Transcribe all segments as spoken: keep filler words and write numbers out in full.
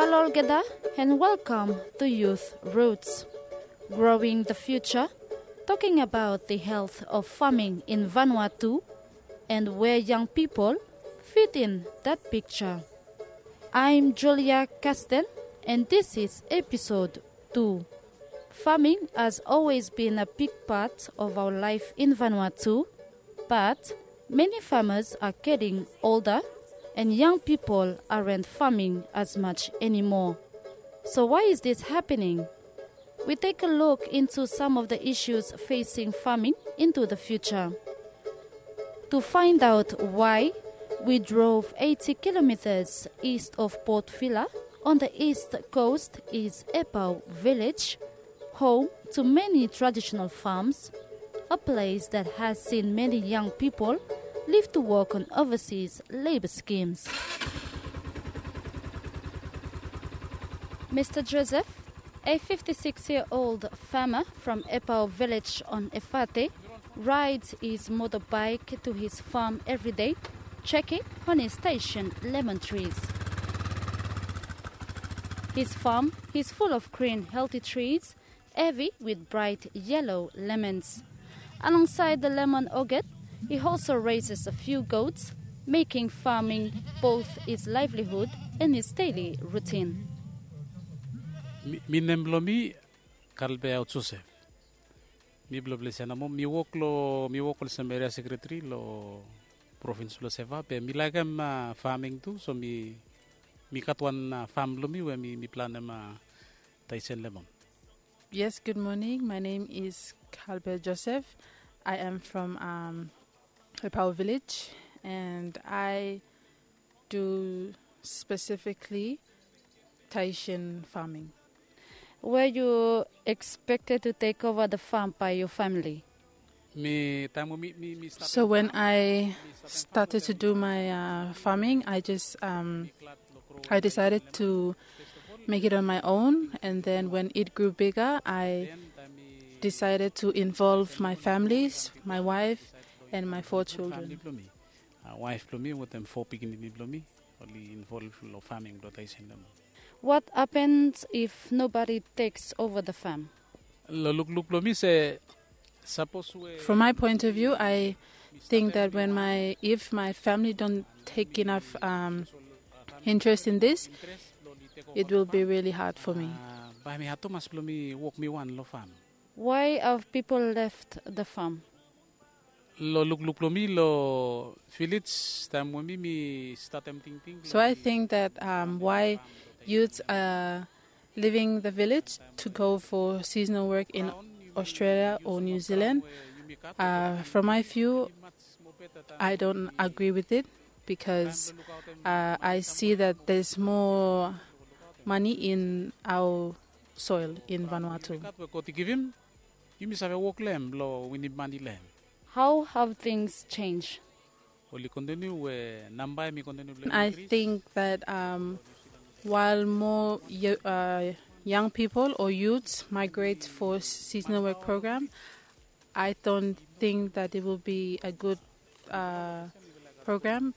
Hello olgeta, and welcome to Youth Roots, Growing the Future, talking about the health of farming in Vanuatu and where young people fit in that picture. I'm Julia Kasten, and this is episode two. Farming has always been a big part of our life in Vanuatu, but many farmers are getting older and young people aren't farming as much anymore. So why is this happening? We take a look into some of the issues facing farming into the future. To find out why, we drove eighty kilometers east of Port Vila. On the east coast is Epau village, home to many traditional farms, a place that has seen many young people leave to work on overseas labor schemes. Mister Joseph, a fifty-six-year-old farmer from Epau village on Efate, rides his motorbike to his farm every day, checking on his Tahitian lemon trees. His farm is full of green, healthy trees, heavy with bright yellow lemons. Alongside the lemon orchard, he also raises a few goats, making farming both his livelihood and his daily routine. Mi, mi nem blong mi Kalbeau Joseph. Mi blong ples ia nomo, mi wok lo, mi wok olsem eria sekretari lo provins blo Seva, be mi laekem, a, farming tu, so mi, mi gat wan, a, fam blo mi we mi, mi planem, a, Tahitian lemon. Yes, good morning. My name is Kalbeau Joseph. I am from, um, Epau village, and I do specifically Tahitian farming. Were you expected to take over the farm by your family? Mi, taem we mi, mi, mi stap. So when I started to do my, uh, farming, I just, um, I decided to make it on my own, and then when it grew bigger, I decided to involve my families, my wife, and my four children. Famili blo mi, a, waef blo mi wetem fo pikinini blo mi oli involv lo faming blo Tahitian lemon. What happens if nobody takes over the farm? Lo lukluk blo mi se, sapos we... From my point of view, I think that when my, if my family don't take enough, um, interest in this, it will be really hard for me. A, bae mi had tumas blo mi wok mi wan lo fam. Why have people left the farm? Lo lukluk blo mi lo vilej, taem we mi, mi statem tingting. So I think that, um, why youths are leaving the village to go for seasonal work in Australia or New Zealand, uh, from my view, I don't agree with it because, uh, I see that there's more money in our soil in Vanuatu. Gat we God i givim, yumi save wok lo hem blo winim mane lo hem. How have things changed? Oli kontiniu we namba hemi kontiniu blo... I think that, um, while more yo-, uh, young people or youths migrate for seasonal work program, I don't think that it will be a good, uh, program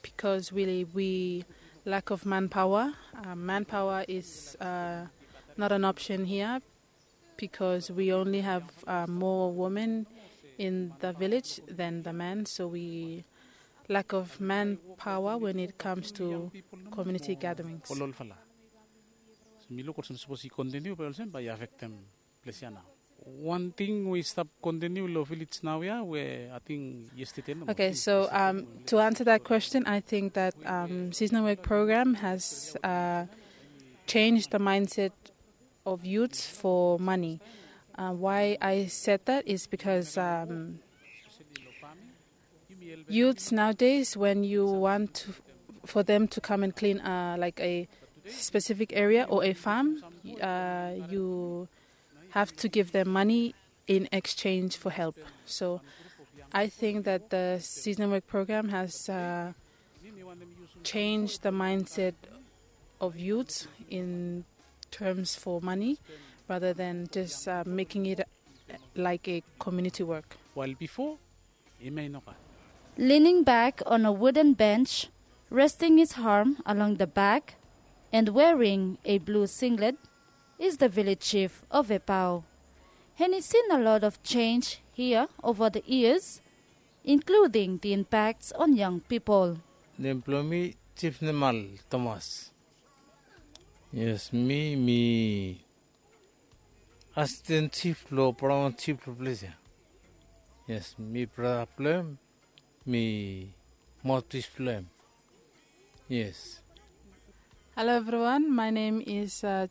because really we lack of manpower. Uh, manpower is, uh, not an option here because we only have, uh, more women in the village than the men, so we lack of manpower when it comes to community gatherings. Ololfala. So mi luk olsem sapos i kontiniu bae olsem bae i afektem ples ia nao. Wan ting we i stap kontiniu lo vilej naoia we ating yestede nomo. Okay, so, um, to answer that question, I think that, um, seasonal work program has, uh, changed the mindset of youths for money. Uh, why I said that is because, um, youths nowadays, when you want to, for them to come and clean, uh, like, a specific area or a farm, uh, you have to give them money in exchange for help. So I think that the seasonal work program has, uh, changed the mindset of youths in terms for money rather than just, uh, making it, uh, like a community work. While before, hemia i no gat. Leaning back on a wooden bench, resting his arm along the back, and wearing a blue singlet, is the village chief of Epao. And he's seen a lot of change here over the years, including the impacts on young people. Nem blong mi Chief Nemal Thomas. Yes, mi, mi asisten chief blong paramount chief blong ples ya. Yes, mi brata blong hem, mi maothpis blong hem. Yes. Hello, everyone. My name is uh,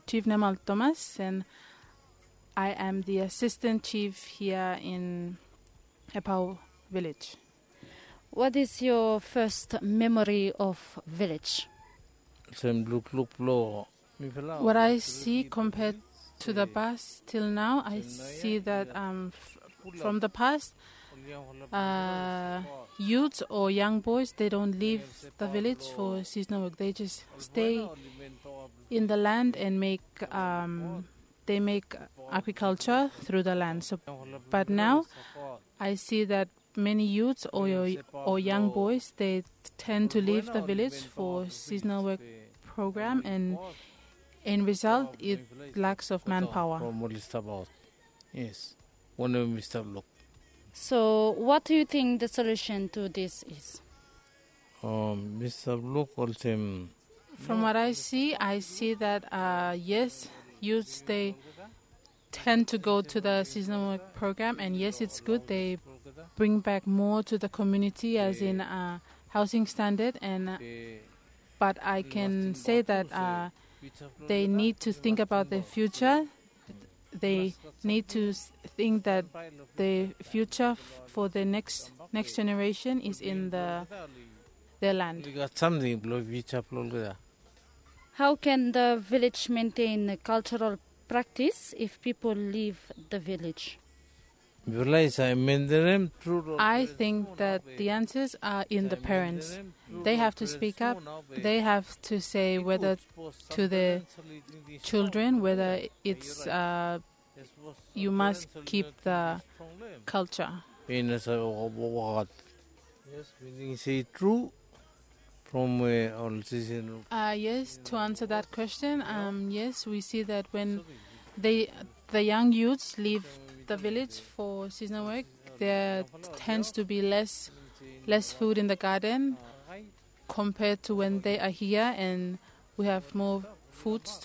Chief Nemal Thomas, and I am the assistant chief here in Epau village. What is your first memory of village? Olsem lukluk blong mifala. What I see compared to the past till now, I see that um, f- from the past, uh, youths or young boys, they don't leave the village for seasonal work. They just stay in the land and make um, they make agriculture through the land. So, but now I see that many youths or, or young boys, they tend to leave the village for seasonal work program, and in result, it lacks of manpower. Yes. Wanem mi stap luk. So, what do you think the solution to this is? Um, mi stap luk olsem. From what I see, I see that uh, yes, youths they tend to go to the seasonal work program, and yes, it's good. They bring back more to the community, as in uh, housing standard, and uh, but I can say that uh, they need to think about their future. They need to think that the future for the next next generation is in the their land. Oli gat samting blong future blong olgeta. How can the village maintain a cultural practice if people leave the village? I think that the answers are in the parents. They have to speak up. They have to say whether to the children whether it's uh, you must keep the culture. Yes, meaning say true from uh, all season. Uh, yes, to answer that question, um, yes, we see that when they, the young youths leave the village for seasonal work, there tends to be less less food in the garden compared to when they are here and we have more foods to